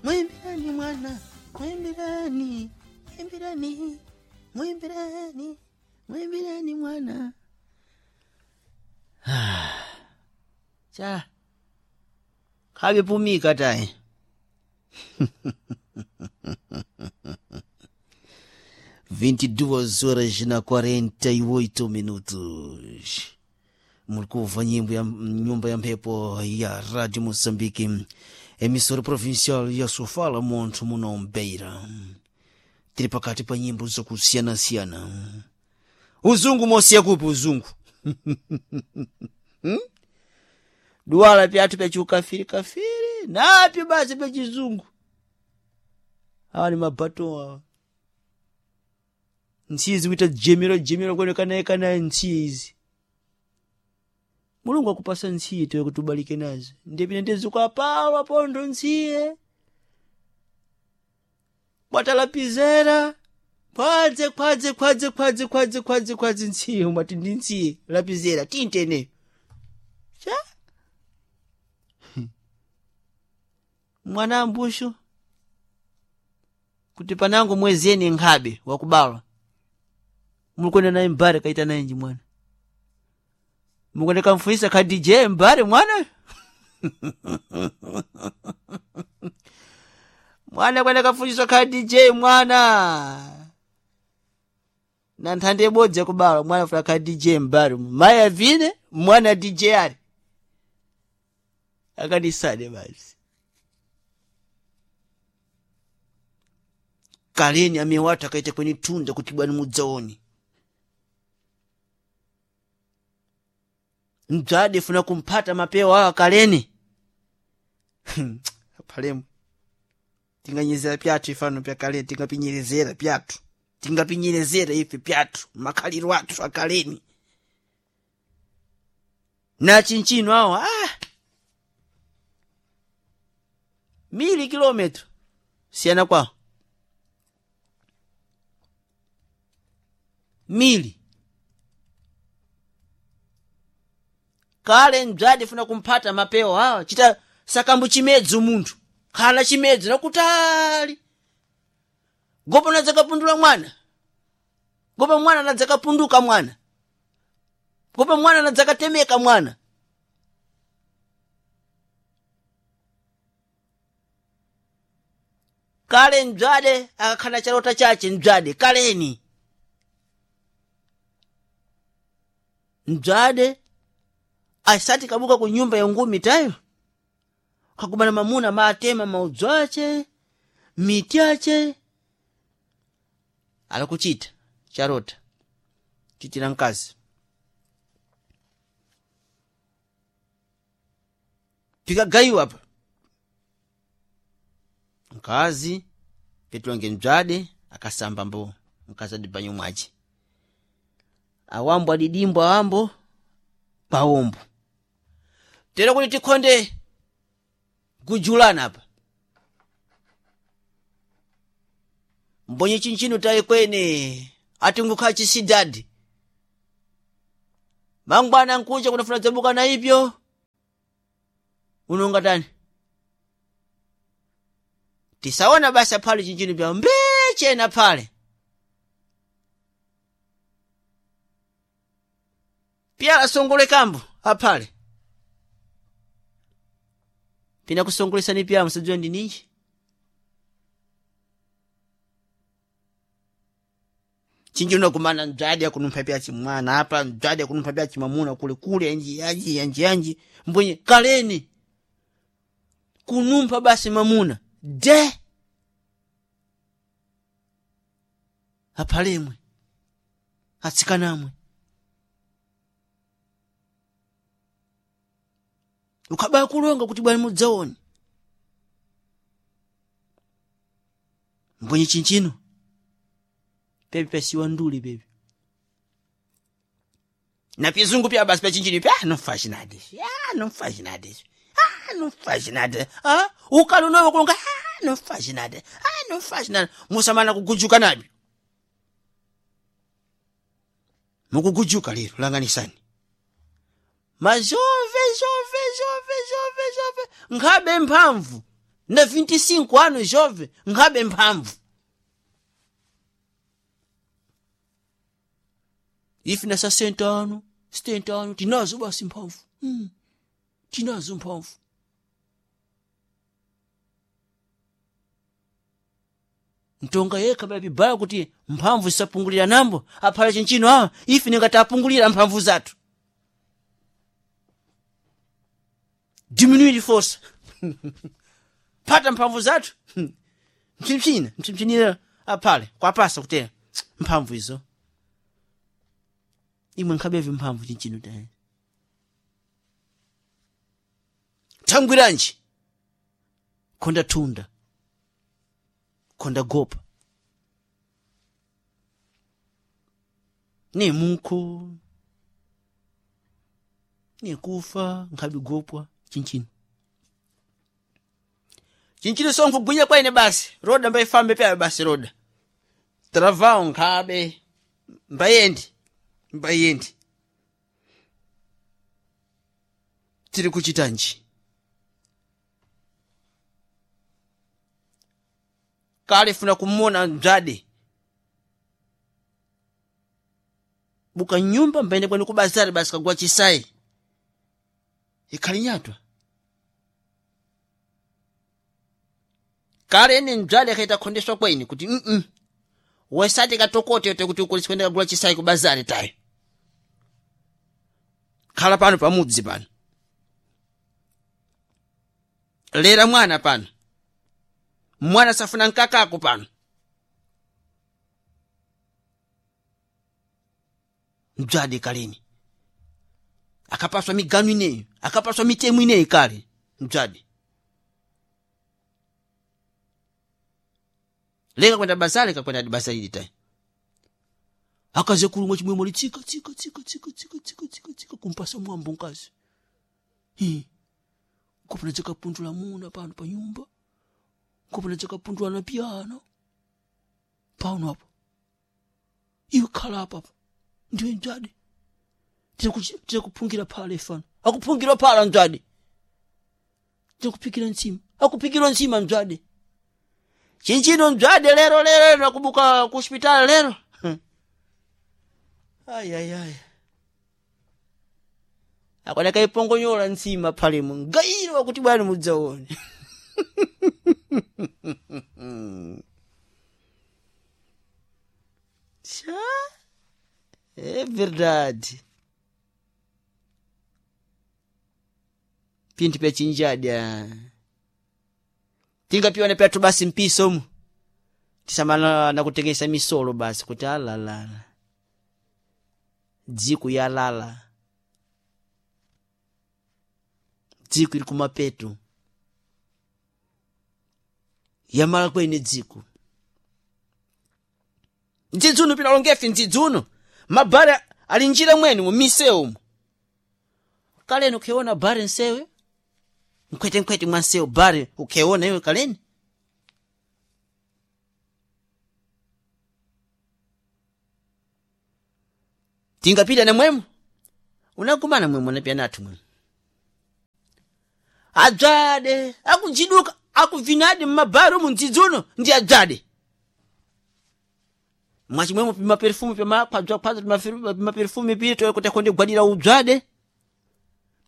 Mwimbirani mwana, mwimbirani, mwimbirani, mwimbirani, mwimbirani mwana. Cha khavipumika tayi. 22 horas na 48 minutos. Mulikuva nyimbo ya nyumba ya mphepo ya Rádio Moçambique, emissora provincial ya Sofala Monto muno Beira. Tiri pakati pa nyimbo zakusiyana-siyana. Uzungu mosiya kupi uzungu? Hmm? Duwala pyathu pyachiukafiri kafiri napyo basi pyachizungu. Awa ni mabato awa. Ntsiyi zikuita jemero jemero kwene kanaye kanaye ntsiyi izi. Mulungu akupasa ntsiye tiwe kuti ubalike nazo. Ndipine ndizikwapawa pondo ntsiye. Bwatalapizera. Khwadze khwadze khwadze khwadze khwadze khwadze khwadze ntsiye umati ndi ntsiye lapizera tintene. Cha? Mwana ambushu kuti panango mwezeni nkhabe wakubalwa. Mulikwenda naye mbare kaita naye nji mwana. Mukwenda kamfuyisa kha DJ mbare mwana. Mwana kwenda kafundiswa kha DJ mwana. Na nthanda ibodzi yakubalwa mwana funa kha DJ mbare. Mayi avine mwana DJ ali. Akanisane basi. Kaleni amewatu akaita kweni tunda kuti bwani mudzaoni. Mdzadi funa kumphata mapewa awa kaleni. Apalemu. Tinganyezera pyathu ifano pya kaleni, tingapinyerezera pyathu. Tingapinyerezera ife pyathu, makhaliro athu akaleni. Na chinchino awa, ah! Mili kilometro. Siyana kwawo. Mili. Kale mdzadi funa kumphata mapewa awa, chita sakambu chimedzi munthu. Khala chimedzi nakutali. Gopo nadzakapundula mwana. Gopo mwana nadzakapunduka mwana. Gopo mwana nadzakatemeka mwana. Kale mdzade akakhala chalota chache mdzade kaleni. Mdzade asati kabuka ku nyumba ya ngumi tayo. Kakumana mamuna maatema maudzu ache, miti ache. Alakuchita charota. Chitira mkazi. Pikagayiwa apa. Mkazi petulonge mdzade akasamba mbo mkazi adi banyo mwache. Awambo adidimbo awambo pawombo. Tero kuti tikhonde kujulana apa. Mbonye chinchino tayi kwene atingukhala chisidadi. Mangwana nkuja kunafuna dzabuka na ipyo. Unonga tani? Tisaona basi aphale chinchino pya mbechena phale. Pya asongole kambo aphale. Pina kusongolesani pya musadziwa ndi ninji. Chinchino kumana mdzadi akunumpha pya chimwana apa mdzadi akunumpha pya chimamuna kule kule anji anji anji anji mbwenye kaleni kunumpha basi mamuna de aphalemwe atsikanamwe ukabaya kulonga kuti bwani mudzaoni mbwenye chinchino pepi pasiwa nduli pepi na pizungu pya basi pya chinchino pya não faz nada isso ah não faz nada isso ah não faz nada ah ukali unowe kulonga ah não faz nada ah não faz nada musamana kugujuka nabyo mukugujuka lero langanisani mazove zove zove zove zove nkhabe mphamvu. Na 25 ano jove nkhabe mphamvu. Ife na 60 ano, 70 ano tinazo basi mphamvu. Tinazo mphamvu. Ntonga yekha babibaya kuti mphamvu zisapungulira nambo aphala chinchino awa ife ningati apungulira mphamvu zathu. Diminuir força. Pata mphamvu zathu. Mpsimpsina, mpsimpsinira aphale kwapasa kutera mphamvu izo. Imwe nkhabevi mphamvu chinchino tayi. Thangwiranji. Khonda thunda. Khonda gopa. Ne mukho. Ne kufa nkhabi gopwa chinchino. Chinchino sonkugwinya kwaine basi. Roda mbaifambe pya basi roda. Travao nkhabe. Mbayendi. Mbayendi. Tiri kuchitanji. Kale funa kumona mdzade. Buka nyumba mbaende kwani kubazari basi kagwa chisai. Ikhali nyatwa. Kale ene mdzade akaita khondeswa kwaine kuti Wesati katokote yote kuti ukulisi kwenda kagula chisai kubazari tayo. Khala pano pamudzi pano. Lera mwana pano. Mwana safuna nkakako pano. Mdzade kaleni. Akapaswa miganu ineyo. Akapaswa mitemu ineyo kale. Mdzade. Leka kwenda bazari kakwenda bazari tayo. Akaze kulungwa chimwemwe li tsika tsika tsika tsika tsika tsika tsika tsika kumpasa mwambo nkazi. Nkopona dzakapundula muna pano pa nyumba. Nkopona dzakapundula na piano. Pano apo. Iwe khala apa apa. Ndiwe mdzade. Tirakuphungira phala ifano. Akuphungira phala mdzade. Tirakuphikira ntsima. Akuphikira ntsima mdzade. Chinchino mdzade lero lero lero akubuka ku hospitali lero. Ai ai ai. Akwana kaipongonyola ntsima phalemo. Ngairo akuti bwana mudzaone. Tchá. É verdade. Pinthu pya chinjadya. Tingapiwana pyathu basi mpiso mu. Tisamana nakutengesa misolo basi kuti alalala. Dziko yalala. Dziko ili kumapeto. Yamala kwene dziko. Mdzidzuno pinalongefe mdzidzuno. Mabhare ali njira mwene mu misewu umu. Kaleni ukheona bare nsewe. Nkhwete-nkhwete mwa nsewu bare ukheona iwe kaleni. Tingapita namwemo. Unakumana mwemo napya nathu mwemo. Adzade akujiduka akuvinadi mmabhare umu mdzidzuno ndi adzade. Mwachimwemo pimaperfume pimakhwadzwakhwadzwa pimaperfume pito kuti akhonde kugwadira udzade.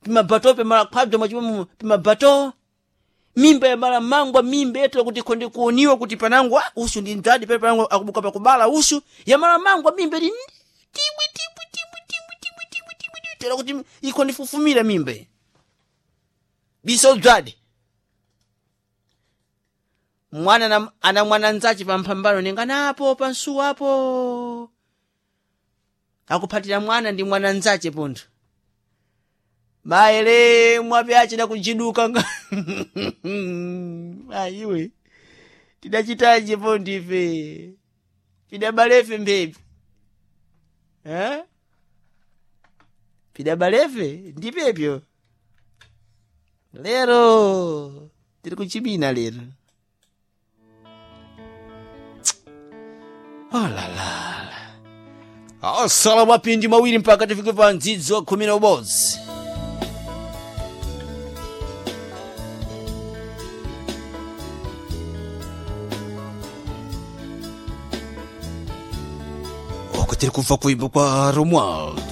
Pimabato pimakhwadzwa mwachimwemo pimabato. Mimba yamala mangwa mimba yetu kuti khonde kuoniwa kuti panangu usu ndi mdzade pale panangu akubuka pakubala usu yamala mangwa mimba ili tibwi tibwi tibwi tibwi tibwi tibwi tibwi tibwi tera kuti ikhonde fufumira mimba iyi. Biso udzade. Mwana ana mwana nzache pamphambano ninganapo pansuwa apo. Akuphatira mwana ndi mwana nzache pontho. Maele mwape achida kujiduka nga. Ayiwe. Tidachitaje pontho ife. Pidabalefe mphepi. Eh? Pidabalefe ndipepyo. Lero tiri kuchimina lero. Olalala. Asala mapindi mawiri mpaka tifike pa mdzidzo wa 11. Tiri kubva kuimba kwa Romualdo.